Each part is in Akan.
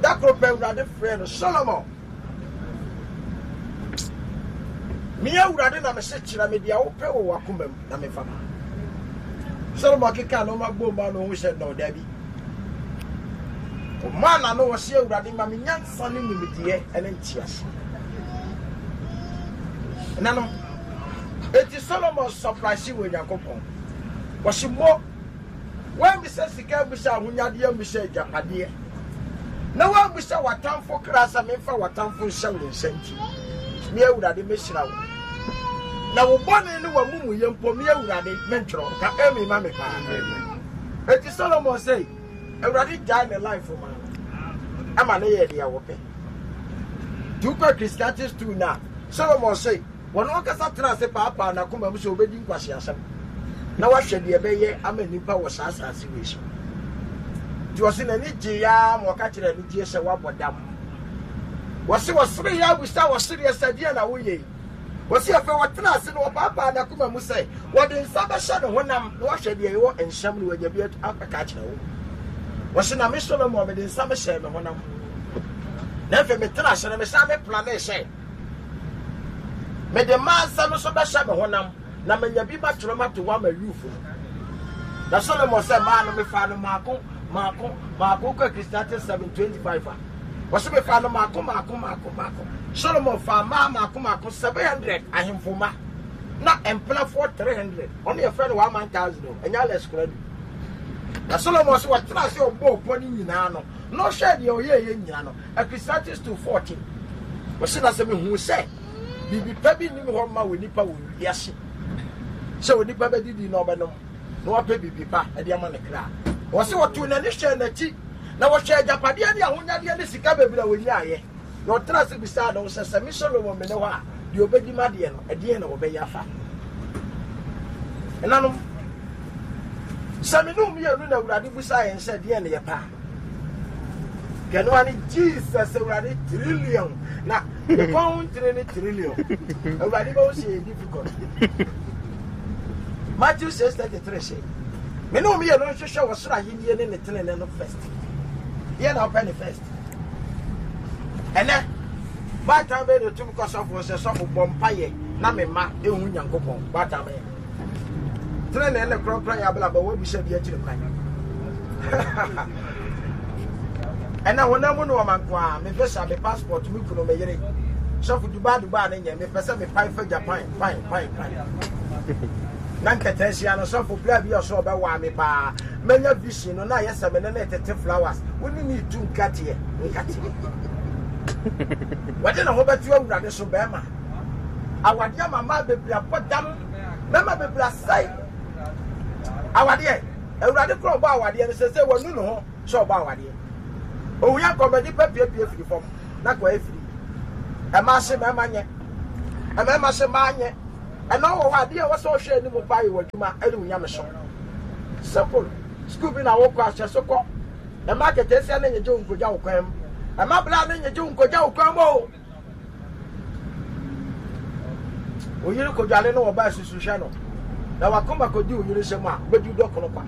Da koro pɛ Awurade frɛɛ no, Solomon, me Awurade na mese kyerɛ me deɛ wopɛ wɔ w'akoma mu na memfa ma. Solomon keka nneɛma bom ma no ho sɛ no dabi. Ɔmaa n'ano wɔ sɛ Awurade ma me nyansa ne nimdeɛ ne ntease. Nanom, eti Solomon surprise wɔ Nyankopɔn. Wɔsi mo Woammisa sika ammisa ahonyadeɛ ammisa agyapadeɛ, na woammisa w'atamfo kra sɛ memfa w'atamfo nhyɛ wo nsa nti, me Awurade mɛhyira wo. Na wo bɔne ne w'amumuyɛ mpo, me Awurade mentwerɛ. Ka amen ma me paa. Enti Solomon sɛ, Awurade gyae ne life ma no, ɛma ne yɛ deɛ wɔpɛ. Nti wokɔ Ecclesiastes 2 no a, Solomon sɛ, Ɔno ankasa tenaa ase paapaa n'akoma mu sɛ obedi nkwaseasɛm na wahwɛ deɛ ɛbɛyɛ ama nnipa wɔ saa asase wei so. Nti ɔse n'ani gyee ara ma ɔka kyerɛɛ anigyeɛ sɛ wabɔ dam. Wɔse wɔseree ara bisaa ɔsereɛ sɛ deɛn na woyɛ yi? Wɔse afei ɔtenaa ase na ɔpaapaa n'akoma mu sɛ wɔde nsa bɛhyɛ ne honam na wahwɛ deɛ ɛwɔ nhyɛm na wanya bi aka akyerɛ wo. Wɔse na me Solomon mede nsa mehyɛɛ me honam. Na afei metena ase no mesan me planee sɛ Mede mmaa nsa no so bɛhyɛ me honam, na manya bi matwerɛ mato hɔ ama Yufo no. Na Solomon sɛ mmaa no mefaa no maako maako maako kɔ Ecclesiastes 7:25 a wɔsɛ mefaa no maako maako maako maako. Solomon faa mmaa maako maako 700 ahemfo mma na mpenafoɔ 300 ɔno yɛfrɛ no 1000 o ɛnyɛ Alex Koradu. Na Solomon sɛ wɔtena ase ɔbɔɔ pɔ no nyinaa no na ɔhwɛɛ deɛ ɔyɛɛyɛ nyinaa no Ecclesiastes 2:14 Ɔse na sɛ mehuu sɛ biribi pa bi nnim hɔ mma onipa wɔ wiase sɛ onipa bɛdidi na ɔbɛnom na wapɛ biribi pa de ama ne kra. Ɔse ɔtoo n'ani hwɛɛ n'akyi na wɔhwɛɛ agyapadeɛ ne ahonyadeɛ ne sika bebree a wɔnyaeɛ na ɔtena ase bisaa ne ho sɛ sɛ me Solomon mene hɔ a deɛ ɔbɛdi m'adeɛ no ɛdeɛn na wɔbɛyɛ afa ɛnanom sɛ me ne mmienu na Awurade busaa yɛn sɛ deɛn na yɛpɛ a Kɛnoa ne Jesus Awurade trillion na ne kɔn ho ntene ne trillion. Awurade bɛwo sɛ yɛ difficult. Matthew 6:33 sɛ me ne mmienu nhwehwɛ wɔ soro ahennie ne ne tenene no first. Deɛ na wopɛ ne first. Ɛnɛ baatan bɛyɛ na otum kɔ sɔfo sɛ sɔfo bɔ mpayɛ na me mma ehu Nyankopɔn baatan bɛyɛ. Tenenee ne kronkron yɛ abrabɔ wabisa bi akyiri kwan. Ɛna honam mu nneɛma nko ara, me visa, me passport, me kunu, me yere. Sɔfo Dubai Dubai ne nyɛ, mepɛ sɛ mepae fa Japan, pan, pan, pan. Na nkataasia no sɔfo bla bi ɔsɛ ɔbɛwaa me paa. Manya vision no na ayɛ sɛ me ne ne tete flowers. Wo ne ne tu nkateɛ, nkateɛ. Wɔde ne ho bɛto awurade so bɛrima. Awadeɛ ama mmaa bebree abɔ dam. Mmarima bebree asɛe awadeɛ. Awurade kora ɔbɔ awadeɛ no sɛ sɛ wanu ne ho sɛ ɔbɔ awadeɛ. Owia nkɔmɔ nipa piepie firi fam na kɔ afiri. Ɛma se mmarima nyɛ. Mmarima se mmaa nyɛ. Ɛna ɔwɔ hɔ adeɛ a ɛwɔ sɛ ɔhwɛ anim paa yɛ w'adwuma ɛne wo nyamesom. Simple. Sukuu bi na wokɔ ahyɛ so kɔ. Ɛma aketeesia ne nyegye wo nkogya wo kwan mu. Ɛma bla ne nyegye wo nkogya wo kwan mu o. Wo yere kodwale no wɔba asusu hwɛ no na wakoma kɔdi wo yere nsɛm a wobɛdi dɔ kono kwa.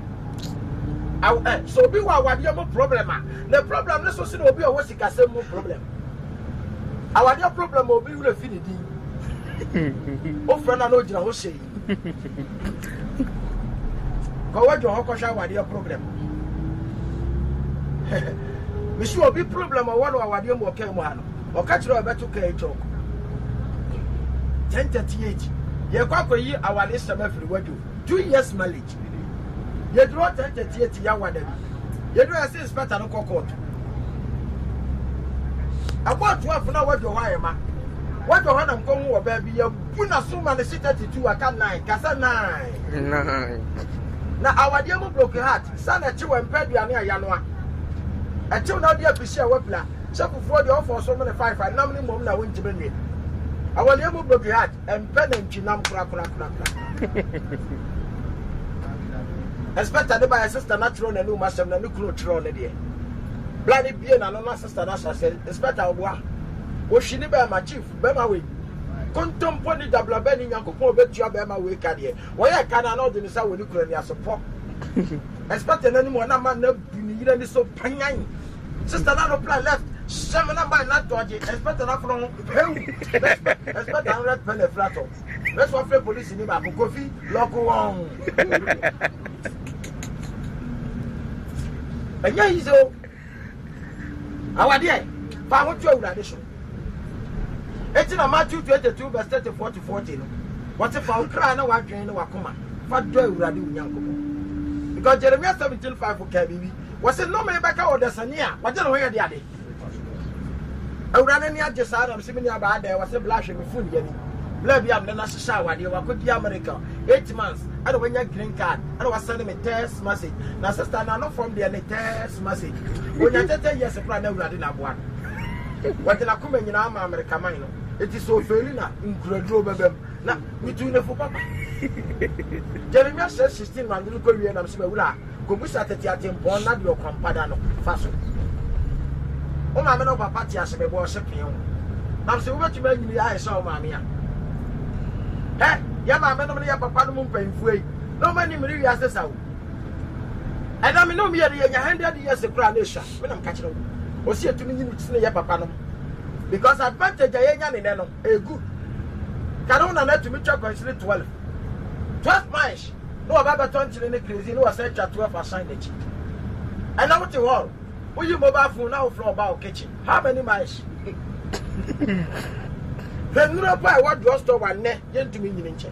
Aw ɛ sɛ obi wɔ awadeɛ mu problem a ne problem ne so sene obi a ɔwɔ sikasɛm mu problem. Awadeɛ problem a obi werɛ fi ne din. Wofrɛ no a na ogyina hɔ sei. Kɔ wadwa hɔ kɔhwɛ awadeɛ problem. Mesi obi problem ɔwɔ no awadeɛ mu ɔkaa mu ha no. Ɔka kyerɛ ɔbɛto kaa chɔk. 10:38 yɛkɔ akɔyi awadeɛ sɛm afiri wadwo. 2 years marriage. Yɛduru hɔ 10:38 yɛawada bi. Yɛduru yɛsɛ inspector no kɔ court. Ɛbɔɔ 12 na wadwo hɔ ayɛ ma. Wadwo hɔ na nkɔhu wɔ baabi yɛbu n'aso ma ne se 32 aka 9 kasa 9. 9. Na awadeɛ mu broken heart sa na ɛkyew ɛmpɛ aduane a yanoa. Ɛkyew na ɔde apisi a wapira. Sɛ fufuo deɛ ɔfɔ so mene 5 a nam ne mmom na wontumi nwe. Awadeɛ mu broken heart ɛmpɛ nantwinam korakorakorakora. Inspector de baeɛ sister no atwerɛ n'anum asɛm na ne kunu twerɛ ne deɛ. Bla ne bie n'ano na sister no ahyɛ sɛ inspector ɔboa. Wɔhwi ne bɛrima chief bɛrima wei. Kontompo ne dablaba ni Nyankopɔn ɔbɛtua bɛrima wei ka deɛ. Wɔyɛ ka no a na ɔde ne nsa wɔ ne kunu ani ase pɔ. Inspector n'anim hɔ na ma na bu ne yere ani so panyan. Sister na reply left. Hyɛ me na mba na dɔgye. Inspector na fono ho. Heu. Inspector no red pen afira tɔ. Bɛsɛ wafrɛ polisi ni baako Kofi lɔko wɔn. Ɛnyɛ easy o. Awadeɛ, fa ho to Awurade so. Eti na Matthew 22 verse 34 to 40 no, wɔte fa wo kra ne w'adwene ne w'akoma fa dɔ Awurade wo Nyankopɔn. Because Jeremiah 17 5 kaa biribi, wɔse nnome bɛka ɔdasani a wɔgye ne ho yɛ de ade. Awurade ani agye saa na mese me nua baa dɛn wɔse bla hwɛ me phone yɛ ni. Bla bi a mene no ahyehyɛ awadeɛ wakɔdi America 8 months ɛna wanya green card ɛna wasɛne me text message na sister na no fam deɛ ne text message onya tɛtɛ years koraa na Awurade na aboa no. Wɔde n'akoma nyinaa ama America man no eti sɛ ofeeli na nkuraduro bɛbam na metu ne fo papa. Jeremiah 6 16 ma no kɔ wie na mese mawura Kɔbisa tete atempɔn na deɛ ɔkwampa da no, fa so. Wo maame ne wo papa te ase bɛbɔ ɔse pee wo. Nam sɛ wobɛtumi anyini ayɛ sɛ wo maame a. Hɛ, yɛ maame nom ne yɛ papa nom mpanyinfoɔ yi, na wɔn ani mmiri wiase sa o. Ɛna me ne wɔn yɛ no yɛnya 100 years koraa na ɛsua, me na meka kyerɛ wo. Ɔsi yɛtumi nyini sene yɛ papa nom. Because advantage a yɛnya ne nɛ no, ɛyɛ good. Kane wo nana tumi twa kwansini 12. 12 miles. Na waba abɛtɔ nkyene ne kerosene na wasan atwa 12 asan n'akyi. Ɛnɛ wote hall, woyi mobile phone na wofrɛ ɔba wo kitchen. How many miles? Hwɛ nnuro pa a ɛwɔ drugstore wa nnɛ yɛntumi nyini nkyɛ.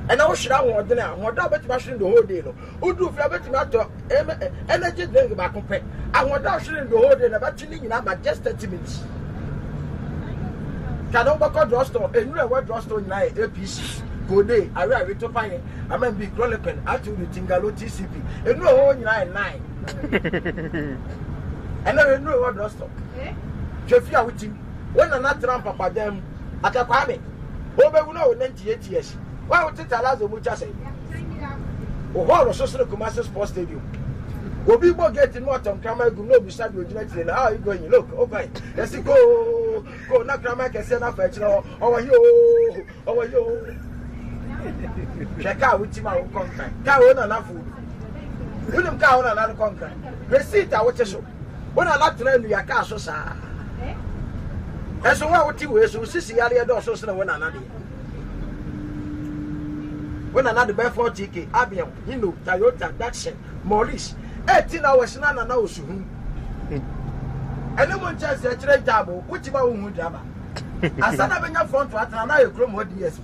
Ɛnɛ wohwere ahoɔden a, ahoɔden a wobɛtumi ahwere the whole day no, woduru fie a wobɛtumi atɔ energy drink baako pɛ. Ahoɔden a wohwere the whole day no ɛbɛte ne nyinaa ba just 30 minutes. Kane wobɛkɔ drugstore, nnuro a ɛwɔ drugstore nyinaa yɛ APC, Kode, Awe Awe, Topaye, Aman bi, Chloroquine, Atudu, Tingalo, TCP. Nnuro a ɛwɔ hɔ nyinaa yɛ nine. Ɛnna hwɛ nnuro a ɛwɔ drugstore. Hwɛ fie a wotim. Wo nana tena mpapadan mu. Aka Kwame, wobɛwu na wɔ 98 years. Wo a wote Talazo mu twa sɛn? Wo hall so sene Kumasi Sports Stadium. Obi bɔ gate no ɔtɔ nkraman agum na obisa deɛ ogyina akyire no, how are you going? Look, okwan. Yɛsi go, go na kraman kɛseɛ no afa akyire hɔ. Ɔwɔ he oo. Ɔwɔ yi o. Hwɛ kaa wotim a wokɔ nkran. Kaa wo nana fo bi. Wonim kaa wo nana no kɔ nkran. Hwɛ seat a wote so. Wo nana tena nnua kaa so saa. Ɛso wo a wote wei so, wo sisi yareɛ dɔɔso sene wo nana deɛ. Wo nana de bɛyɛ 40k, Abion, Hino, Toyota, Datsun, Maurice. 18 hours na nana osuhu. Ɛne mo nkyɛnse akyerɛ ntaabo, wotim a wohu drama. Ansa na bɛnya front atena na ayɛ kurom hɔ DSP.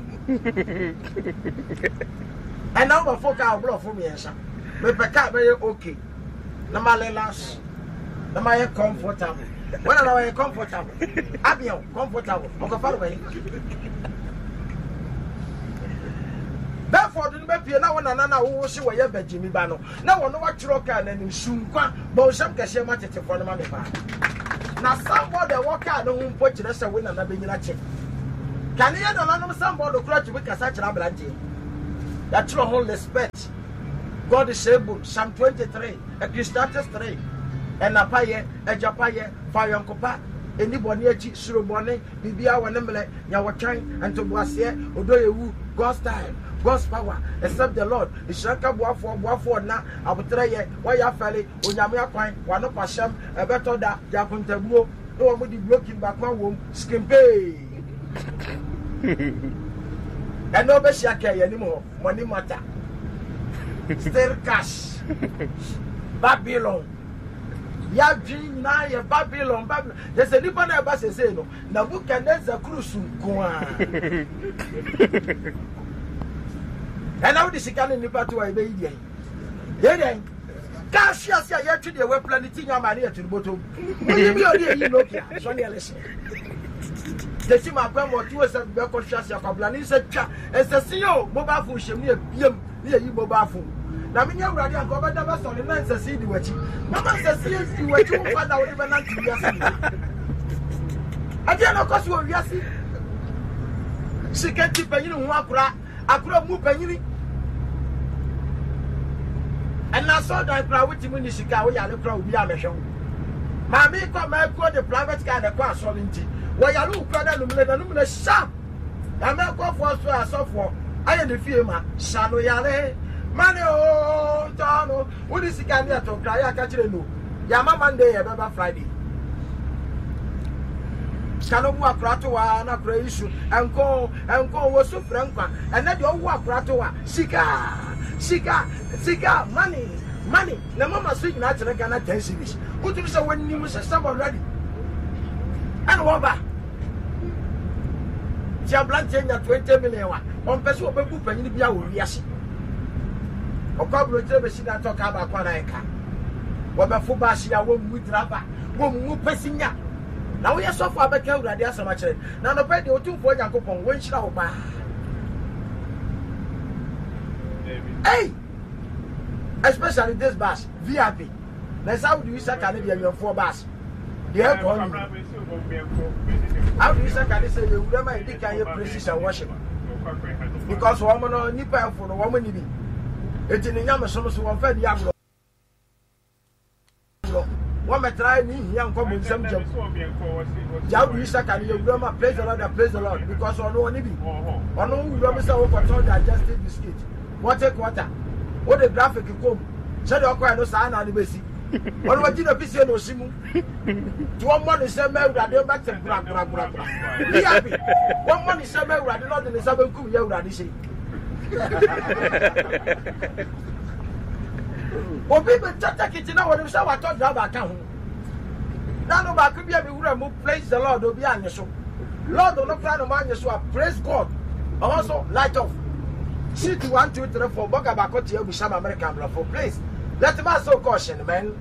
Ɛna wobɛfo kaa ɔborɔfo mmiɛnsa. Mepɛ kaa bɛyɛ okay na ma relax na ma yɛ comfortable. Wɔn na wɔyɛ comfortable. Abiel comfortable. Ɔkɔfa no bɛyɛ. Bedford no bɛpie na wo nana na wowo se wɔyɛ bɛgyimi ba no. Na wɔn watwerɛ kaa n'anim su nkwa bɔ nsɛm kɛseɛ ma tetefoɔ no ma me paa. Na sanbɔɔd a ɛwɔ kaa no ho mpo kyerɛ sɛ wo nana bɛnyina kyɛ. Kane yɛ nananom sanbɔɔd koraa tumi kasa kyerɛ aberanteɛ. Yɛatwerɛ ho Lisbeth, God is able, Psalm 23, Ecclesiastes 3, ɛna payɛ, agya payɛ, fa ayɔnkopa, ɛni bɔne akyi, suro bɔne, biribiara wɔ ne mmerɛ, nya wɔtwɛn, ntoboaseɛ, ɔdɔ yɛ wu, God's time, God's power, except the Lord, nhyira nka boafoɔ, boafoɔ nna, aboterɛ yɛ, wɔyɛ afɛle, Onyame akwan, w'ano kwahyɛm, ɛbɛtɔ da, gye akontabuo, na wɔn de broken baako awom, skimpee. Ɛnna ɔbɛhyia kɛɛ yɛn anim hɔ, money matter, still cash, Babylon. Yɛadwene nyinaa yɛ Babylon, Babylon. Yɛ sɛ nipa na ɛba sesei no, Nebuchadnezzar kurusu nko ara. Ɛnna wode sika ne nipa to a ɛbɛyi deɛ. Yɛ dɛn? Kaa hwe ase a yɛtwe deɛ wapira ne ti nya ma ne yɛto no bɔtɔm. Wonyi bi a ɔde ayi Nokia sɔne ɛlɛhyɛ. Tesi ma akwan ma ɔto sɛ bɛkɔ hwe ase akwabla ne nsa twa nsɛse o mobile phone hyɛm ne yɛbiam ne yɛyi mobile phone. Na menye awurade anka ɔbɛda bɛsɔre na nsɛse di w'akyi. Mama nsɛse di w'akyi wo mfa da wode bɛnante wiase nyinaa. Ɛdeɛ na ɔkɔ so wɔ wiase. Sika nti panyini ho akora. Akora mu panyini. Ɛna asɔredan koraa wotumi ni sika a woyare koraa obi amɛhwɛ wo. Maame kɔ mɛkuo de private car na ɛkɔ asɔre nti wɔyare wo koraa na numere na numere sharp. Na mɛkɔfoɔ so asɔfoɔ ayɛ ne fie ma hyɛ no yare mane o ntɔ no wode sika ne ɛto nkra yɛ aka kyerɛ no yɛama Monday yɛbɛba Friday. Ka no wo akora to a na akora yi su. Ɛnko ɛnko wɔ su frɛ nkwa. Ɛnɛ deɛ ɔwo akora to a sika sika sika money money. Na mama so nyinaa kyerɛ Ghana 10 cedis. Wotumi sɛ wɔnim system already. Ɛna wɔba. Ti aberanteɛ nya 20 million a ɔmpɛ sɛ ɔbɛbu panyin bi a wɔ wiase. Ɔkɔ aburokyerɛ bɛsi dan tɔ kaa baako anaa ɛka. Wɔbɛfo baase a wɔmmu driver, wɔmmu pasinya. Na woyɛ sɔfo a bɛka Awurade asɛm akyerɛ. Na anɔpa yi deɛ Otumfoɔ Nyankopɔn wɔnhyira wo paa. Hey! Especially this bus, VIP. Na ɛsɛ wode Isaka ne deɛ awɛmfoɔ bus. Deɛ ɛkɔ no. How do Isaka ne sɛ yɛwura ma yɛdi kan yɛ praises and worship. Because wɔn no nipa ɛfo no wɔn ni bi. Eti ne nyamesom so wɔn fɛ di agorɔ. Wɔmmɛtra ne hia nkɔ bonsam gyam. Gya wo Isaka no yɛ wura ma praise the Lord and praise the Lord because ɔno ɔne bi. Ɔno wura mu sɛ wokɔtɔn digestive biscuit, wɔte quarter, wode graphic kɔm sɛdeɛ ɔkɔɛ no saa na ne bɛsi. Ɔno wagyi na fisie na ɔsi mu. Nti wɔmmɔ ne nsɛm ma Awurade bɛte brabrabrabra. Be happy. Wɔmmɔ ne nsɛm ma Awurade na ɔde ne nsa bɛnkum yɛ Awurade sei. Obi bɛtwa tekiti na wɔnim sɛ watɔ driver ka ho. Na no baako bi a me wura mu praise the Lord obi anye so. Lord no koraa na mo anye so a praise God. Ɔhɔ so light off. Seat 1 2 3 4 bɔga baako te agu sama American brɔfo please let me ask you a question man.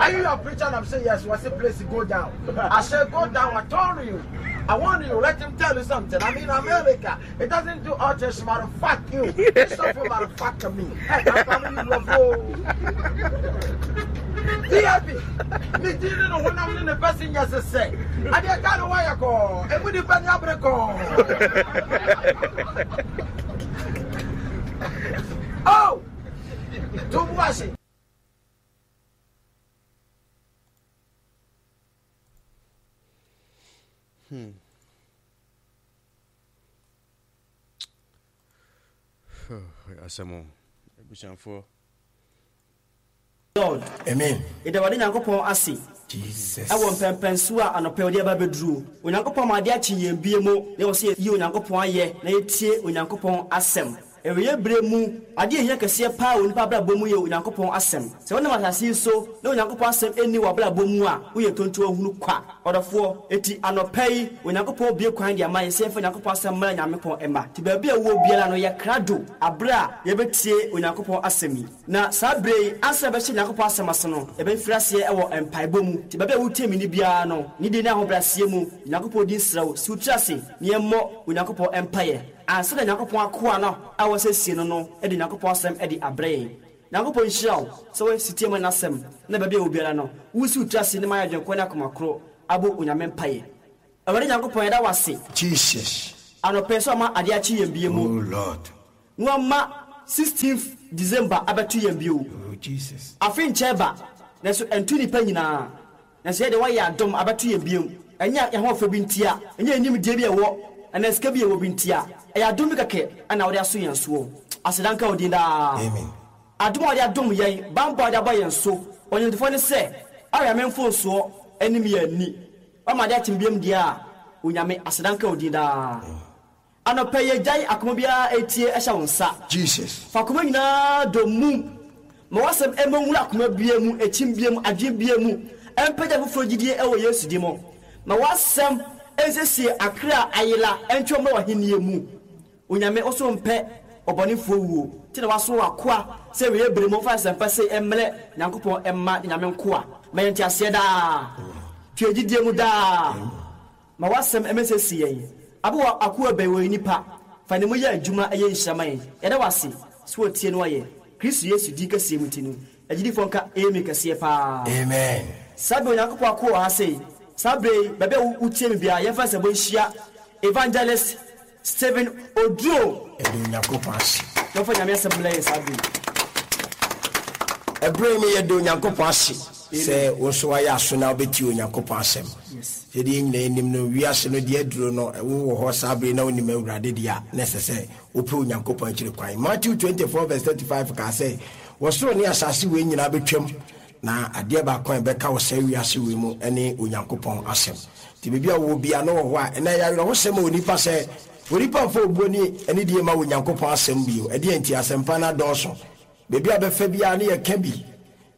Are you your preacher? And I'm saying yes. What's the place go down? I said go down. I told you. I want you. Let him tell you something. I'm in America. It doesn't do all this matter. Fuck you. This stuff matter. Fuck me. Hey, I'm coming you VIP. Me dini no honam ne ne passengers sɛ. Adeɛ ka no wayɛ kɔɔ. Emu nipa ni abere kɔɔ. Oh! To bu ase. Asɛm o, abusuafoɔ. Lord. Amen. Yɛda Awurade Nyankopɔn ase Jesus. ɛwɔ mpɛnpɛnsoɔ a anɔpa yi ɔde aba abɛduro. Onyankopɔn ama adeɛ akye yɛn bie mu na ɛwɔ sɛ yɛyi Onyankopɔn ayɛ na yɛtie Onyankopɔn asɛm. Awieeɛ berɛ mu, adeɛ a ɛhia kɛseɛ paa wɔ onipa abrabɔ mu yɛ Onyankopɔn asɛm. Sɛ wonam asase yi so na Onyankopɔn asɛm nni w'abrabɔ mu a, woyɛ ntontoahunu kwa. Ɔdɔfoɔ, enti anɔpa yi, Onyankopɔn bue kwan de ama yɛn sɛ yɛmfa Onyankopɔn asɛm mmra Nyankopɔn mma. Nti baabi a wowɔ biara no, yɛ krado aberɛ a yɛbɛtie Onyankopɔn asɛm yi. Na saa berɛ yi, ansa na yɛbɛhyɛ Nyankopɔn asɛm ase no, yɛbɛfiri aseɛ wɔ mpaebɔ mu. Nti baabi a wotie me nne biara no, nidie ne ahobrɛaseɛ mu, Nyankopɔn din srɛ wo, si wo tiri ase na yɛmmɔ Onyankopɔn mpaeɛ. Ansa na Nyankopɔn akoa no a wɔasiesie no no de Nyankopɔn asɛm de abrɛ yɛn. Nyankopɔn nhyira wo sɛ woayɛ setie ma N'asɛm na baabi a ɛwɔ biara no, woresi wo tiri ase ne mayɛ adwenkorɔ ne akoma koro abɔ Onyame mpaeɛ. Awurade Nyankopɔn yɛda wo ase. Jesus. Anɔpa yi sɛ wama adeɛ akye yɛn bio mu. Oh Lord. Na wama 16th December abɛto yɛn bio. Oh Jesus. Afe nkyɛɛ ba, nanso ɛnto nnipa nyinaa. Nanso yɛn deɛ woayɛ adom abɛto yɛn bio. Ɛnyɛ yɛn ahoɔfɛ bi ntia, ɛnyɛ yɛn nimdeɛ bi a yɛwɔ anaa sika bi a yɛwɔ bi ntia. Ɛyɛ adom bi kɛkɛ na wode aso yɛn soɔ. Aseda nka wo din daa. Amen. Adom a wode adom yɛn, banbɔ a wode abɔ yɛn so, Ɔnwontofoɔ no sɛ, Awɛ me mfomsoɔ anim yɛ ani. Woama ade akyem biom deɛ a, Onyame, aseda nka wo din daa. Anɔpa yi yɛgyae akoma biara retie hyɛ wo nsa. Jesus. Fa akoma nyinaa dɔ mum. Ma w'asɛm mmɔ nwura akoma biara mu, ɛkyim biara mu, adwene biara mu. Ɛmpagya afoforɔ gyidie wɔ Yesu din mu. Ma w'asɛm nsiesie akra a ayera ntwe wɔn mmra w'ahennie mu. Onyame, wo so mpɛ ɔbɔnefoɔ wuo, nti na woasoma w'akoa sɛ awieɛ bere mu ɔmfa nsɛmpa sei mmrɛ Nyankopɔn mma ne Nyame nkoa. Ma yɛn nteaseɛ daa. Twe yɛn gyidie mu daa. Ma w'asɛm mmɛsiesie yɛn. Aboa w'akoa bɛn wɔyɛ nipa fa ne mu yɛ adwuma ɛyɛ nhyira ma yɛn yɛda w'ase sɛ wotie na wayɛ Kristo Yesu din kɛseɛ mu nti no agyidifoɔ nka Amen kɛseɛ paa. Amen. Saa berɛ Onyankopɔn akoa wɔ ha sei saa berɛ yi baabi a wotie me biara yɛmfa nsɛbɔ nhyia Evangelist Stephen Oduro. Yɛda Onyankopɔn ase. Na ɔmfa Nyame asɛm mmrɛ yɛn saa berɛ yi. Ɛberɛ yi mu yɛda Onyankopɔn ase sɛ wo nso woayɛ aso na wobɛtie Onyankopɔn asɛm. Sɛdeɛ yɛn nyinaa nim no, wiase no deɛ aduro no, wowɔ hɔ saa berɛ yi na wonim Awurade deɛ a, na ɛsɛ sɛ wopɛ Onyankopɔn akyiri kwan. Matthew 24 verse 35 kaa sɛ, Ɔsoro ne asase wei nyinaa bɛtwam. Na adeɛ baako a ɛbɛka wɔ saa wiase wei mu ne Onyankopɔn asɛm. Nti baabi a wowɔ biara na wɔ hɔ a, ɛnɛ ɛyɛ awerɛhosɛm ma onipa sɛ onipa mfa obuo ne anidie mma Onyankopɔn asɛm bio. Ɛdeɛn nti? Asɛmpa no adɔɔso. Baabi a bɛfa biara ne yɛka bi.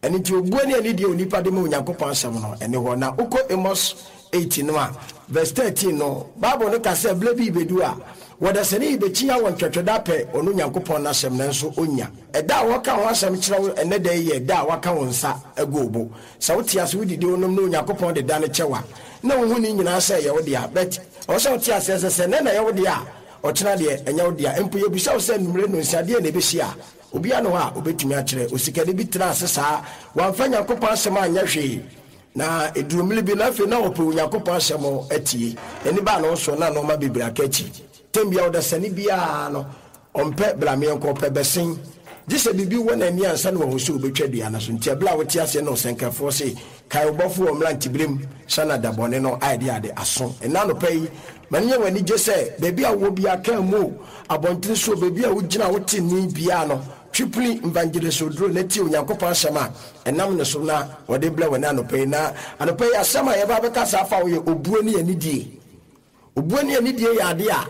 Ɛno nti obuo ne anidie a onipa de ma Onyankopɔn asɛm no, ɛne hɔ. Na wokɔ Amos 8 no a, verse 13 no, Bible no ka sɛ berɛ bi rebɛdu a, wɔdasani rebɛkyia wɔ ntwɛtwɛdɛ apɛ ɔno Nyankopɔn no asɛm nanso ɔnnya. Ɛda a wɔka ho asɛm kyerɛ wo ɛnnɛ da yi yɛ da a wɔaka wo nsa agu wo bo. Sɛ wote ase, wodidi, wonom na Onyankopɔn de da no kyɛ wo a, na wohu ne nyinaa sɛ ɛyɛ wo dea. But ɛwɔ sɛ wote aseɛ sɛ, sɛ nnɛ na ɛyɛ wo dea a, ɔkyena deɛ, ɛnyɛ wo dea. Mpo yɛbisa wo sɛ anwummere nnɔnsia, deɛn na ɛbɛsi a, obiara nni hɔ a ɔbɛtumi akyerɛ. Osikani bi tenaa ase saa, wamfa Nyankopɔn asɛm anyɛ hwee. Na ɛduruu mmere bi no, afei na ɔpɛ Onyankopɔn asɛm atie. N'ani baa ne ho so na nnoɔma bebree aka akyi. Tɛm biara, ɔdasani biara no, Ɔmpɛ brameɛnkɔ, ɔpɛ bɛsen. Gye sɛ biribi wɔ n'ani ansa na wahu sɛ obetwa dua no so. Nti ɛberɛ a wote aseɛ na ɔsɛnkafoɔ se, Kae wo Bɔfo wɔ mmeranteberem, sa na da bɔne no ayɛ de ade aso. Ɛnnɛ anɔpa yi, ma no nyɛ wo anigye sɛ, baabi a wowɔ biara, kaa mu o, abɔntene so o, baabi a wogyina a wote nne biara no, twe pini Evangelist Oduro na tie Onyankopɔn asɛm a ɛnam ne so na wɔde brɛ wo ɛnnɛ anɔpa yi. Na anɔpa yi asɛm a yɛba abɛkasa afa ho yɛ obuo ne anidie. Obuo ne anidie yɛ adeɛ a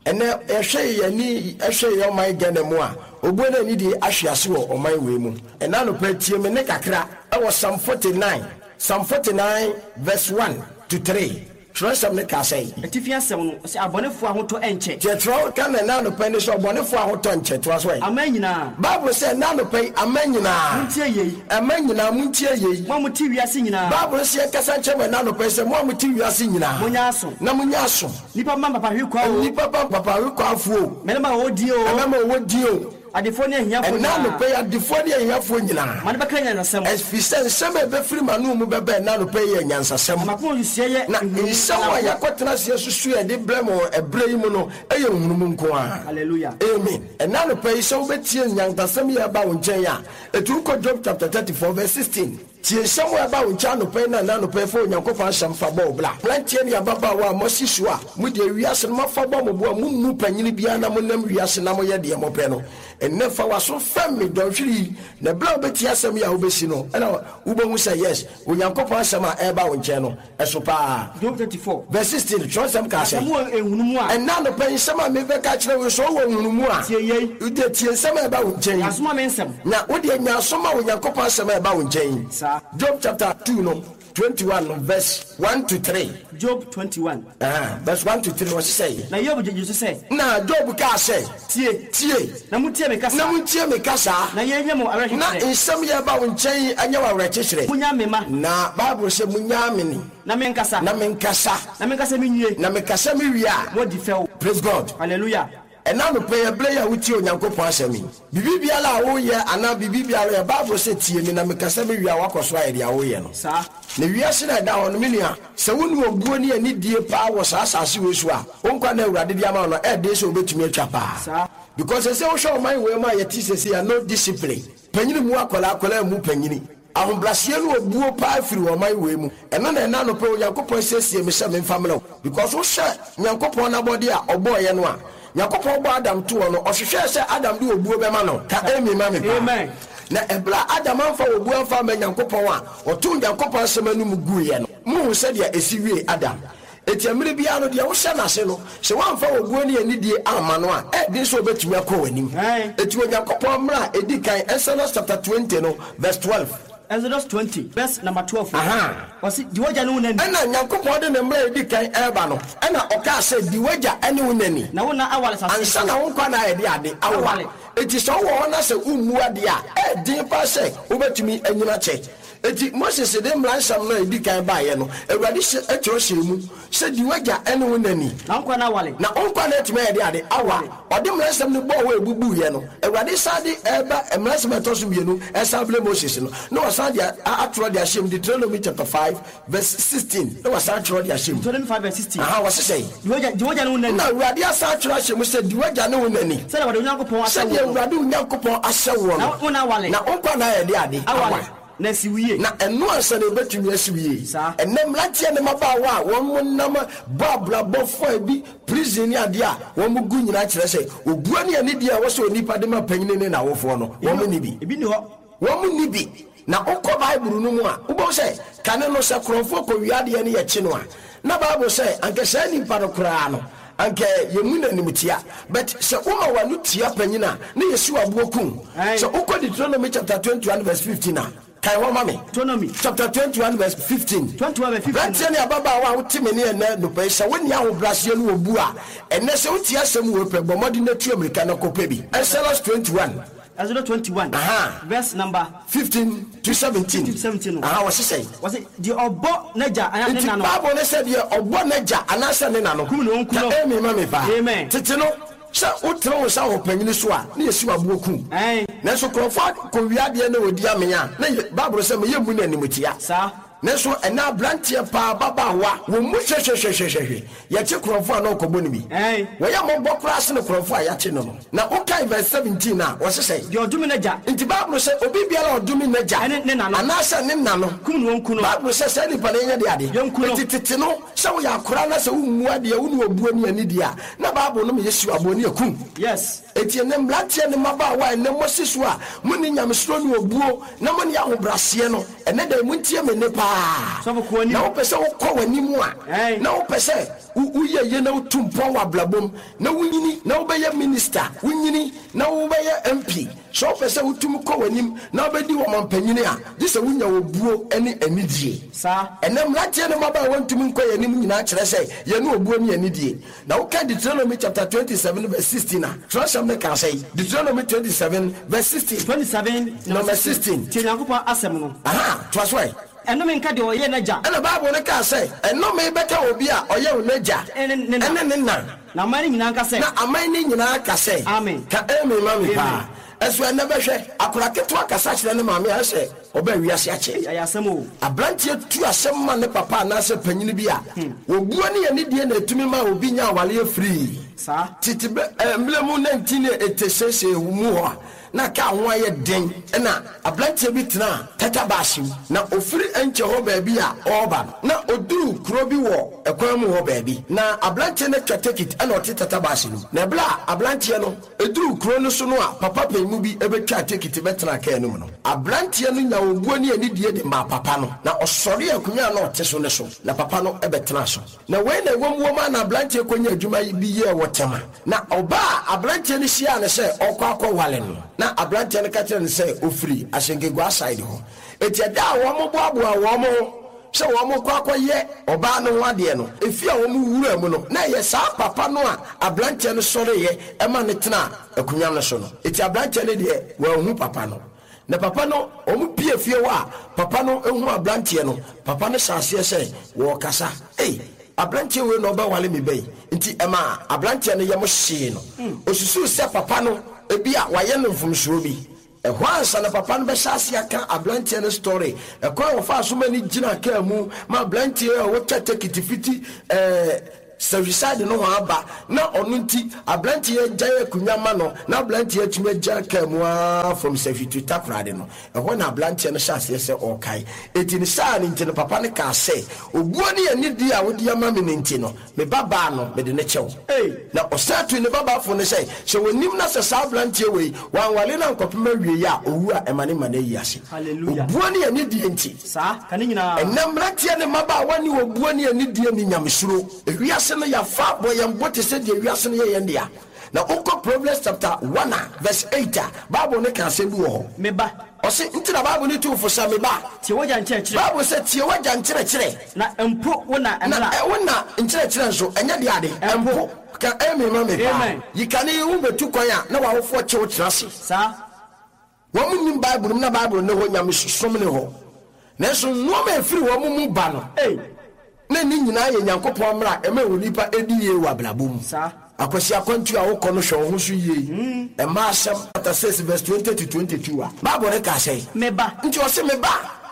Ɛnɛ yɛhwɛ yɛn ani hwɛ yɛn ɔman Ghana mu a, obuo ne anidie ahwe ase wɔ ɔman wei mu. Ɛnɛ anɔpa yi tie me nne kakra wɔ Psalm 49, Psalm 49 verse 1 to 3. Twerɛsɛm no kaa sɛn? Atifi asɛm no, ɔse, Abɔnefoɔ ahotɔ nkyɛ. Deɛ twerɛ ka no ɛnɛ anɔpa yi ne sɛ, Ɔbɔnefoɔ ahotɔ nkyɛ. Toa so ɛ. Aman nyinaa. Bible sɛ ɛnɛ anɔpa yi, aman nyinaa. Montie yei. Aman nyinaa, montie yei. Mo a mote wiase nyinaa. Bible no sɛ yɛnkasa nkyerɛ mo ɛnɛ anɔpa yi sɛ, mo a mote wiase nyinaa. Monyɛ aso. Na monyɛ aso. Nnipa mma mpapahwekwaa oo. Nnipa mma mpapahwekwafoɔ oo. Mmarima a wɔwɔ din oo. Mmarima a wɔwɔ din oo. Adefoɔ ne ahiafoɔ Ɛnnɛ nyinaa. anɔpa yi, adefoɔ ne ahiafoɔ nyinaa. Ma no bɛka nyansasɛm. Ɛfiri sɛ nsɛm a ɛbɛfiri m'ano mu bɛba ɛnnɛ anɔpa yi yɛ nyansasɛm. Na m'akoma nsusuiɛ yɛ Na nhunumu nsɛm a nko. yɛakɔtena ase asusu a yɛde brɛ mo wɔ ɛberɛ yi mu no yɛ nhunumu nko ara. Hallelujah. Amen. Ɛnnɛ anɔpa yi, sɛ wobɛtie nyansasɛm yi a ɛba wo nkyɛn a, ɛtu kɔ Job chapter 34 verse 16. Tie nsɛm a ɛba wo nkyɛn anɔpa yi ne anaa anɔpa yi fa Onyankopɔn asɛm fa bɔ wo bra. Mmeranteɛ ne ababaawa a moasi so a mode wiase no moafa bɔ mo bo a mommu panyini biara na monam wiase na moyɛ deɛ mopɛ no, ɛnnɛ fa w'aso fɛm me dɔnhwere yi na berɛ a wobɛtie asɛm yi a wobɛsi no ɛna wobɛhu sɛ yes, Onyankopɔn asɛm a ɛreba wo nkyɛn no ɛso paa. Job 34. Verse 16, Twerɛnsɛm kaa Na sɛ. sɛ mowɔ nhunumu a. Ɛnnɛ anɔpa yi, nsɛm a merebɛka akyerɛ wo yi, sɛ wowɔ nhunumu a. Tie yei. Wodeɛ tie nsɛm a ɛba wo nkyɛn yi. Yɛ aso ma me nsɛm. Na wodeɛ nya aso ma Onyankopɔn asɛm a ɛba wo nkyɛn yi. Saa. Job chapter 2 no, 21 no, verse 1 to 3. Job 21. Aha, verse 1 to 3, ɔse sɛn? Na Hiob gyee so sɛ. Na Job kaa sɛ. Tie. Tie. Na montie me kasa. Na montie me kasa. Na yei nyɛ mo awerɛkyekyerɛ. Na nsɛm yi a ɛba wo nkyɛn yi nyɛ wo awerɛkyekyerɛ. Monnya me mma. Na Bible se, Monyaa me ni. Na menkasa. Na menkasa. Na menkasa menwie. Na mekasa mewie a. Moadi fɛw. Praise God. Hallelujah. Ɛnnɛ anɔpa yi, ɛberɛ yi a wotie Onyankopɔn asɛm yi, biribi biara a woreyɛ anaa biribi biara yɛ, Bible se, Tie me na mekasa mewie a, woakɔ so ayɛ deɛ woreyɛ no. Saa. Na wiase no a ɛda hɔ no, me nua, sɛ wonni obuo ne anidie paa wɔ saa asase wei so a, wo nkwa nna a Awurade de ama wo no, ɛyɛ den sɛ wobɛtumi atwa paa. Saa. Because sɛsɛ wohwɛ ɔman wei mu a yɛte sɛsei a, no discipline. Panyini mmu akwadaa, akwadaa mmu panyini. Ahobraseɛ ne obuo paa firi ɔman wei mu. Ɛno na ɛnnɛ anɔpa yi Onyankopɔn asiesie me sɛ memfa mmrɛ wo. Because wohwɛ Nyankopɔn n'abɔdeɛ a ɔbɔeɛ no a, Nyankopɔn bɔɔ Adam too hɔ no, ɔhwehwɛɛ sɛ Adam de obuo bɛma no. Ka amen ma me paa. Amen. Na ɛberɛ a Adam amfa obuo amfa amma Nyankopɔn a, ɔtoo Nyankopɔn asɛm anom guiɛ no, mohu sɛdeɛ ɛsi wiee Adam. Enti mmerɛ biara no, deɛ wohyɛ no ase no, sɛ woamfa obuo ne anidie amma no a, ɛyɛ den sɛ ɔbɛtumi akɔ w'anim. Enti Onyankopɔn mmara a ɛdi kan, Exodus chapter 20 no verse 12. Exodus 20 verse number 12 no, Ahaa. ɔse, Di w'agya ne wo na ni. Ɛna Nyankopɔn de ne mmara a ɛdi kan reba no, ɛna ɔkaa sɛ, Di w'agya ne wo na ni. Na wo nna aware asase Ansa so. na wo nkwa nna ayɛ de ade awowa. Aware. Enti sɛ wowɔ hɔ na sɛ wommu adeɛ a, ɛyɛ den paa sɛ wobɛtumi anyini akyɛ. Enti Moses de mmara nsɛm no a edi kan baeɛ no, Awurade hyɛ twerɛ hyɛɛ mu sɛ, Di w'agya ne wo na ni. Na wo nkwa nna aware. Na wo nkwa nna atumi ayɛ de ade awa. Ɔde mmara nsɛm no bɔɔ hɔ a ɛbubuiɛ no, Awurade san de reba mmara nsɛm a ɛtɔ so mmienu resan brɛ Moses no, na wasan de atwerɛ de ahyɛ mu, Deuteronomy chapter 5 verse 16, na wasan atwerɛ de ahyɛ mu. Deuteronomy 5 verse 16. Aha, wɔse sɛn? Di w'agya, di w'agya ne wo na ni. Na Awurade asan atwerɛ ahyɛ mu sɛ, Di w'agya ne wo na ni. Sɛdeɛ Awurade wo Nyankopɔn ahyɛ Sɛdeɛ woɔ no. Awurade wo Nyankopɔn ahyɛ woɔ no. Na wo nna aware. Na wo nkwa nna ayɛ de ade awa. Aware. Na asi wo yie. Na ɛno ansa na ɛbɛtumi asi wo yie. Saa. Ɛnnɛ mmeranteɛ ne mmabaawa a wɔn nam bɔ abrabɔ fã bi, prison ne adeɛ a wɔn gu nyinaa kyerɛ sɛ obuo ne anidie a ɛwɔ sɛ onipa de ma panyini ne n'awofoɔ no, wɔn nni bi. Ebi nni hɔ. Wɔn nni bi. Na wokɔ Bible no mu a, wobɛhu sɛ kane no, sɛ korɔmfoɔ kɔwia adeɛ na yɛkye no a, na Bible sɛ anka saa nipa no koraa no, anka yɛmmu no animtia. But sɛ woma w'ano tia panyin a, na yɛsi wo aboɔ ku wo. Sɛ wokɔ Deuteronomy chapter 21 verse 15 a, kan hɔ ma me. Deuteronomy. Chapter 21 verse 15. 21 verse 15. Aberanteɛ ne ababaawa a wote me ne ɛnnɛ anɔpa yi, sɛ wonni ahobrɛaseɛ ne obu a, ɛnnɛ sɛ wotie asɛm wei pɛ, bɔ mmɔden na tu ammirika na kɔpɛ bi. Exodus 21. Exodus 21, Aha. verse number. 15 to 17. 15 to 17 no. Aha, wɔse sɛn? Wɔse, deɛ ɔbɔ n'agya anaa ne Nti na no. Bible no sɛ deɛ ɔbɔ n'agya anaasɛ ne na no. Kum no, ɔnku Ka no. amen ma me paa. Amen. Tete no, sɛ wotene wo nsa wɔ panyini so a, na yɛsi wo aboɔ ku wo. Ae. Nanso nkurɔfoɔ kɔwia adeɛ na wɔdi amee a, na yɛ, Bible sɛ ma yɛmmu no animtia. Saa. Nanso ɛnnɛ aberanteɛ paa, ababaawa, wɔn mu hwɛhwɛhwɛhwɛhwɛ, yɛkye korɔmfoɔ a na ɔkɔbɔ no bi. Wɔyɛ mmɔbɔ koraa sene korɔmfoɔ a yɛakye no no. Na wokae verse 17 a, wɔse sɛn? Deɛ ɔdome n'agya. Nti Bible sɛ obi biara a ɔdome n'agya. Ɛne ne na no. Anaasɛ ne na no. Kum no, wɔnku no. Bible sɛ saa nipa no yɛnyɛ deɛ ade. Yɛnku no. Nti tete no, sɛ woyɛ akoraa na sɛ wommu adeɛ, wone obuo ne anidie a, na Bible no ma yɛsi wo aboɔ ne yɛkum. Yes. Enti ɛnnɛ, mmeranteɛ ne mmabaawa a ɛnnɛ moasi so a monni nyamesuro ne obuo na monni ahobrɛaseɛ no, ɛnnɛ da yi montie me nne pa ara. Na wopɛ sɛ wokɔ w'anim a, na wopɛ sɛ woyɛ yie na wotu mpɔn wɔ abrabɔ mu, na wonyini na wobɛyɛ minister, wonyini na wobɛyɛ MP, sɛ wopɛ sɛ wotumi kɔ w'anim na wobɛdi ɔmampanyini a, gye sɛ wonya obuo ne anidie. Ɛnnɛ, mmeranteɛ ne mmabaawa ntumi nkɔ yɛn anim nyinaa kyerɛ sɛ yɛne obuo ne anidie. Na woka Deuteronomy chapter 27 verse 16 a, twerɛsɛm no ka sɛn? Deuteronomy 27 verse 16. 27 Number 16. Tie Nyankopɔn asɛm no. Aha, toa so ɛ. Ɛnnome nka deɛ ɔyɛ n'agya. Ɛna Bible no kaa sɛ, Ɛnnome bɛka obi a ɔyɛ n'agya Ɛne ne na. ɛne ne na. Na aman no nyinaa nka sɛ. Na aman no nyinaa ka sɛ. Amen. Ka amen ma me Amen. paa. Ɛso ɛnnɛ bɛhwɛ, akwadaa ketewa kasa kyerɛ ne maame a, ɛsɛ Ɔbaa wiase akyɛ. Ei, ɛyɛ asɛm o. Abranteɛ tu asɛm ma ne papa anaasɛ panyini bi a, obuo ne anidie na ɛtumi ma obi nya awareɛ firii. Saa. Tete bɛ eh, mmerɛ mu 1986 mu hɔ a na kaa ho ayɛ den na abranteɛ bi tenaa tata baase mu. Na ɔfiri Ɛnkyɛ hɔ baabi a ɔreba no, na ɔduruu kuro bi wɔ ɛkwan mu hɔ baabi. Na abranteɛ no atwa tekit na ɔte tata baase no mu. Na ɛberɛ a abranteɛ no. Eduruu kurow no so no a papa panyin bi betwaa tekiti bɛtenaa kaa no mu no, aberanteɛ no nyaa obuo ne anidie de maa papa no, na ɔsɔree akonnwa a na ɔte so no so, na papa no bɛtenaa so. Na wei na ɛwom wom ara na aberanteɛ kɔnyaa adwuma bi yɛɛ wɔ Tema. Na ɔbaa a aberanteɛ no hyiaa no sɛ ɔrekɔ akɔware no, na aberanteɛ no ka kyerɛɛ no sɛ ɔfiri Asenkeguaa side hɔ. Enti ɛda a wɔboaboaa wɔn ho sɛ wɔrekɔ akɔyɛ ɔbaa no ho adeɛ no, efie a wɔwuraa mu no, na ɛyɛ saa papa no a aberanteɛ no sɔreeɛ ma no tenaa akonnwa no so no. Enti aberanteɛ no deɛ, wanhu papa no. Na papa no, wɔpue fie hɔ a, papa no huu aberanteɛ no, papa no hyɛɛ aseɛ sɛ wɔrekasa, Ei, aberanteɛ wei na ɔbɛware me ba yi. Enti ɛmaa aberanteɛ no yam hyee no. Ɔsusuu sɛ papa no, ebia wayɛ no mfomsoɔ bi. Ɛhɔ ansa na papa no bɛhyɛ ase aka abranteɛ no story, ɛkwan a ɔfaa so ma no gyinaa kaa mu ma abranteɛ a ɔtwa tekiti fiti ɛɛ Sahwiside nohoa aba na ɔno nti abranteɛ agyae akonnwa ma no na abranteɛ atumi agyina kaa mu aa from Sahwi to Takoradi no, ɛhɔ na abranteɛ no hyɛ aseɛ sɛ ɔrekae. Enti ne saa no nti no papa no kaa sɛ, Obuo ne anidie a wode ama me no nti no, Me babaa no, mede no kyɛ wo. Na ɔsan tuu ne babaa fo no sɛ, sɛ ɔnim na sɛ saa aberanteɛ wei, wanware no ankɔpem awieeɛ a, ɔwu a, ɛma ne mma no ayi ase. Hallelujah. Obuo ne anidie nti. Saa, ka ne nyinaa. Ɛnnɛ mmeranteɛ ne mmabaawa nni obuo ne anidie ne nyamesuro. Ewiase no, yɛafa abɔ yɛn bo te sɛ deɛ wiase no yɛ yɛn dea. Na wokɔ Proverbs chapter 1 a verse 8 a, Bible no ka asɛm bi wɔ hɔ. Me ba. Ɔse, nti na Bible no tu wo fo sɛ, Me ba. Tie w'agya nkyerɛkyerɛ. Bible sɛ, tie w'agya nkyerɛkyerɛ. Na mpo wo na Na mmara. wo na nkyerɛkyerɛ nso, ɛnyɛ deɛ ade. Mpo. Ka amen ma me paa. Amen. Yi kane yi, wobɛtu kwan a, na w'awofoɔ kye wo tena ase. Saa. Wɔn nnim Bible mu na Bible nni hɔ, nyamesom nni hɔ. Nanso nnoɔma a ɛfiri wɔn mu ba no, Ei. na ne nyinaa yɛ Nyankopɔn mmara a ɛma onipa di yie wɔ abrabɔ mu. Saa. Akwasi akwantuo a wokɔ no hwɛ wo ho so yie. Mmaa asɛm chapter 6 verse 20 to 22 a, Bible no ka sɛn? Me ba. Nti ɔse, Me ba.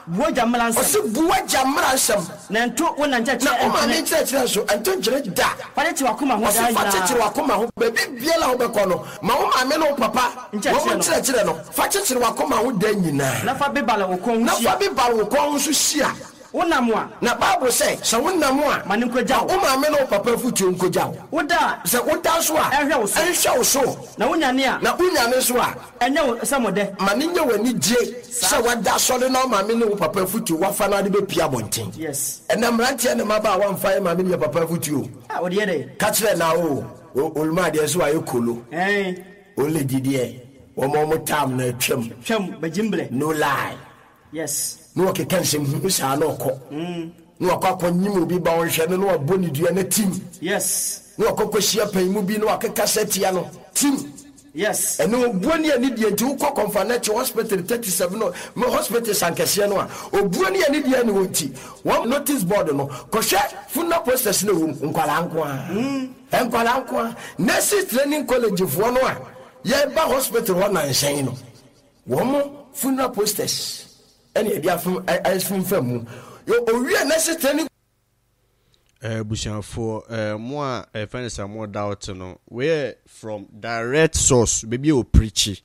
Bu w'agya mmara nsɛm. Ɔse, Bu w'agya mmara nsɛm. Na nto wo na nkyerɛkyerɛ Na wo maame nkyene. nkyerɛkyerɛ nso, nto nkyene da. Fa kyekyere w'akoma ho Ɔse, daa fa nyinaa. kyekyere w'akoma ho. Baabi biara a wobɛkɔ no, ma wo maame ne wo papa wɔn Nkyerɛkyerɛ no. nkyerɛkyerɛ no. Fa kyekyere w'akoma ho daa nyinaa. Na fa bebare wo kɔn ho Na hyia. fa bebare wo kɔn ho nso hyia. Wonam a. Na Bible sɛ, sɛ wonam a. Ma no nkogya wo. Ma wo maame ne wo papa afotuo nkogya wo. Woda a. Sɛ woda nso a. Ɛnhwɛ wo so. Ɛnhwɛ wo so. Na wonyane a. Na wonyane nso a. Ɛnyɛ wo sɛ mo dɛ. Ma no nyɛ w'anigye sɛ woada asɔre na wo maame ne wo papa afotuo woafa na wode bɛpue abɔnten. Yes. Ɛnnɛ mmeranteɛ ne mmabaawa mfa yɛn maame ne yɛn papa afotuo o. Ah, wode yɛ dɛn? Ka kyerɛ na o, o, Oluma deɛ nso wayɛ kolo. Ɛn. Oledi deɛ, wɔn a wɔn tam no atwam. Twam, bɛgye mbrɛ. No lie. Yes. Na ɔkeka nsɛm hunu saa na ɔkɔ. Na wakɔ akɔnyim obi ba ɔnhwɛ no na wabɔ ne dua na tim. Yes. Na wakɔ akɔhyia panyin mu bi na wakeka sɛ tia no tim. Yes. Ɛne obuo ne anidie nti wokɔ Kɔmfanɛkye hospital 37 no me hospitals ankɛseɛ no a obuo ne anidie ne hɔ nti wɔn notice board no kɔhwɛ funeral posters no ɛwɔ mu nkwadaa nko ara nkwadaa nko ara nurses training college foɔ no a yɛba hospital hɔ nanhyɛn no Wɔn funeral posters ɛna yɛde afem afemfam mu. Owie nurses training. Abusuafoɔ eh, mo a ɛfɛ no sɛ mo doubt no, wei yɛ from direct source, baabi a ɔpirikyi,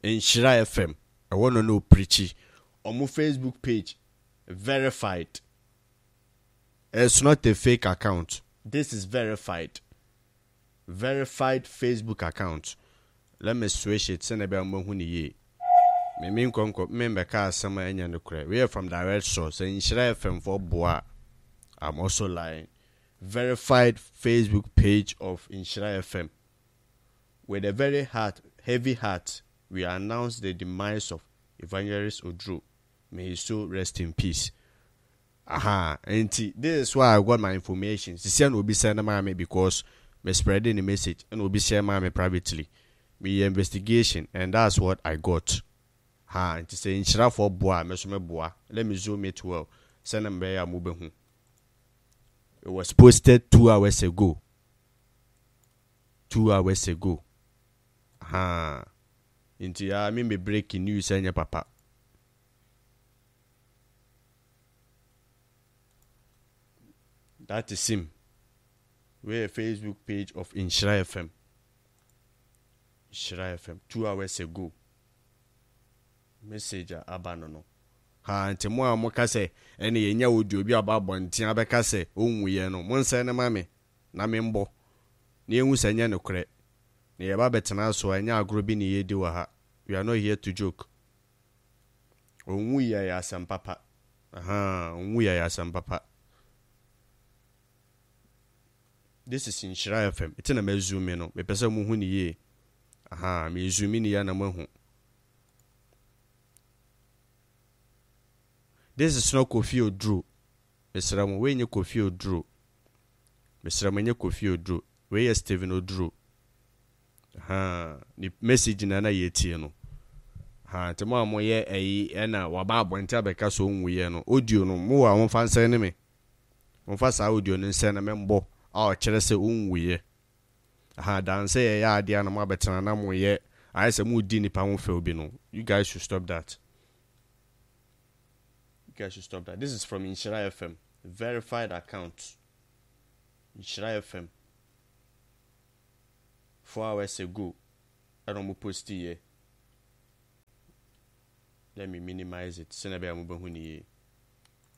Nhyira FM, ɛhɔ no na ɔpirikyi, ɔmo Facebook page, verified, it's not a fake account, this is verified. Verified Facebook account let me switch it sɛnea ɛbɛyɛ a mobɛhu no yie. Me me nkɔ nkɔ me mbɛka asɛm a ɛnyɛ nokorɛ. Wei yɛ from direct source. Sɛ Nhyira FM foɔ boa a, I'm also lying. Verified Facebook page of Nhyira FM. With a very heart, heavy heart, we announce the demise of Evangelist Oduro. May his soul rest in peace. Ahaa nti this is where I got my information sisia na obi send maa me because me spreade ne message ɛna obi share maa me privately me yɛ investigation and that's what I got haa nti sɛ nhyirafoɔ boa a me nso me boa let me zoom it well sɛnea mebɛyɛ a mobɛhu it was posted 2 hours ago 2 hours ago haa nti aa me me break news ɛnyɛ papa. That is him. Wei yɛ Facebook page of Nhyira FM. Nhyira FM 2 hours ago. Message a aba no no. Ha nti mo a moka sɛ ɛne yɛnya audio bi a ɔba abɔnten abɛka sɛ ɔnwuiɛ no, monsɛn no ma me na membɔ na yɛnhu sɛ ɛnyɛ nokorɛ. Na yɛba abɛtena so a ɛnyɛ agorɔ bi na yɛredi wɔ ha. We are not here to joke. Ɔnwuiɛ ɛyɛ asɛm papa. Ahaa ɔnwuiɛ ɛyɛ asɛm papa. This is Nhyira FM. Eti na ma zoom no. Mepɛ sɛ mo hu ne yie. Ahaa me zoom ne yie na mo ahu. This is not Kofi Oduro. Mesrɛ mo, wei nyɛ Kofi Oduro. Mesrɛ mo, ɛnyɛ Kofi Oduro. Wei yɛ Stephen Oduro. Ahaa, ne message na na yɛretie no. Ahaa, nti mo a moyɛ ɛyi ɛna waba abɔnten abɛka sɛ ɔnwuiɛ no, audio no, mowɔ a momfa nsɛne me. Momfa saa audio no nsɛne me mbɔ a ɔkyerɛ sɛ ɔnwuiɛ. Ahaa, dan sɛ yɛyɛ adeɛ a na moabɛtena na moyɛ, ayɛ sɛ moredi nnipa ho fɛw bi no, you guys should stop that. You guys should stop that. This is from Nhyira FM, verified account. Nhyira FM. 4 hours ago ɛna ɔmo posti yɛ. Let me minimize it sɛnea ɛbɛyɛ a mobɛhu no yie.